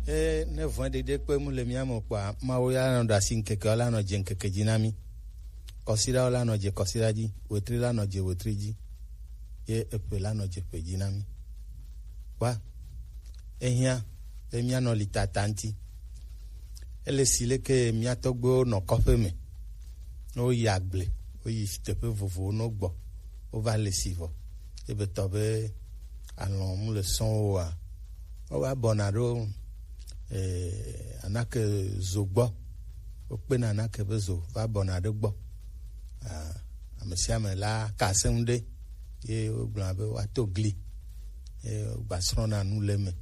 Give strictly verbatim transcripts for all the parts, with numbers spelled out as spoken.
E ne vɔ̃ɖiɖi kpe mu le mía me kpɔa, Mawu ya nɔ ɖe asi ŋkeke, la nɔ dze ŋkeke dzi na mí. Kɔsiɖawo la nɔ dze kɔsiɖa dzi, wetri la nɔ dze wetri dzi, ye eƒe la nɔ dze ƒe dzi na mí. Kpɔa, ehiã be míanɔ li tata ŋuti. Ele si leke mía tɔgbuiwo nɔ kɔƒe me, ne woyi agble, woyi teƒe vovovowo, ne wogbɔ, wova le si vɔ. Ebe tɔ be alɔ̃ mu le sɔ̃ woa, wowa bɔna ɖo, eh, anake zo gbɔ. Wokpena anake be zo va bɔna ɖe gbɔ. Ah, ame sia ame la ka asem ɖe, ye wogblɔna be woato gli, ye wogbasrɔ̃na nu le eme.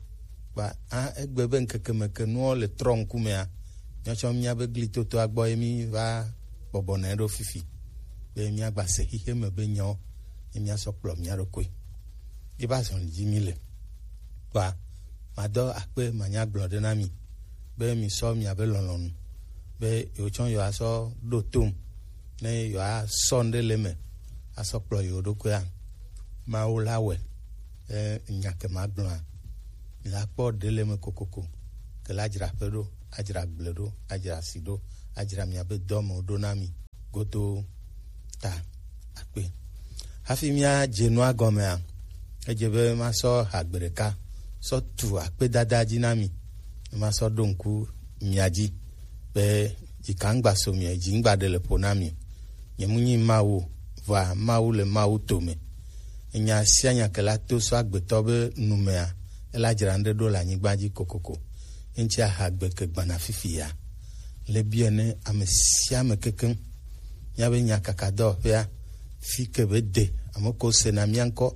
Kpa, ah, egbe be ŋkeke me ke nuwo le trɔ ŋkumea, míawo tsã mía be gli totoa gbɔ ye mí va bɔbɔna ɖo fifi, be míagba se xixe me be nyawo, ye míasɔ kplɔ mía ɖokui. Ye va zɔn dzi mí le. Kpa, madɔ akpe manya gblɔ ɖe na mi, be mi sɔ miabe lɔlɔ̃nu, be yewo tsã yewoasɔ ɖo tom, ne yewoasɔ ŋɖe le eme, asɔ kplɔ yewo ɖokuia. Mawu la wɛ, e, nya ke magblɔa, mi la kpɔ ɖe le eme kokoko, ke la dzra ƒe ɖo, adzra gble ɖo, adzra asi ɖo, adzra miabe dɔmewo ɖo na mi godoo ta akpe. Hafi míadze nua gɔmea, edze be masɔ hagbe ɖeka sɔ tu akpedada dzi na mi. Masɔ ɖo ŋku mia dzi be dzika ŋgba so mi, dzi ŋgba ɖe le ƒo na mi. Nye mu nyi Mawu, vɔa Mawu le Mawu to me. Enya sia nya ke la to sɔ agbetɔ be nu mea, ela dzra ŋɖe ɖo le anyigba dzi kokoko. Eŋtsi ahagbe ke gbana fifi ya. Le biɛ ne ame sia ame kekeŋ. Míabe nyakakadɔwɔƒea, fi ke be de, ame ko sena mía ŋkɔ.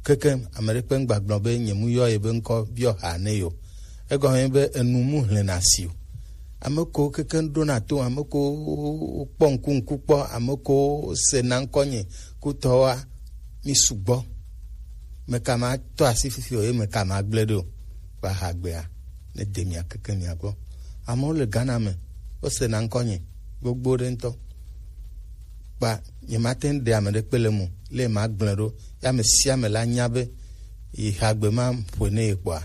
Kekeŋ, ame ɖe kpe ŋgba gblɔ be nye mu yɔ ye be ŋkɔ biɔ ha ne yo. Egɔme be enu mu hlena si o. Ame ko kekeŋ ɖona to, ame ko kpɔ ŋku ŋku kpɔ, ame ko sena ŋkɔ nye kutɔwoa, mi sugbɔ. Meka ma tɔ asi fifi o, ye meka ma gblẽ ɖo. Kpa hagbea, ne de mia keke mia gbɔ. Amewo le Ghana me, wosena ŋkɔ nye gbogbo ɖe ŋutɔ. Kpa nyemate ŋu ɖe ame ɖe kpe le mo, le ma gblẽ ɖo. Ya ame sia ame la nya be yi hagbe ma ƒoe ne ye kpɔa,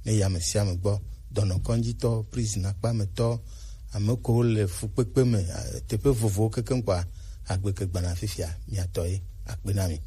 ne yi ame sia ame gbɔ. Dɔnɔkɔdzitɔ, prison akpa me tɔ, ame ko le fukpekpe me, eh, teƒe vovowo kekeŋ kpɔa, agbe ke gbana fifia, miatɔ ye, akpe na mi.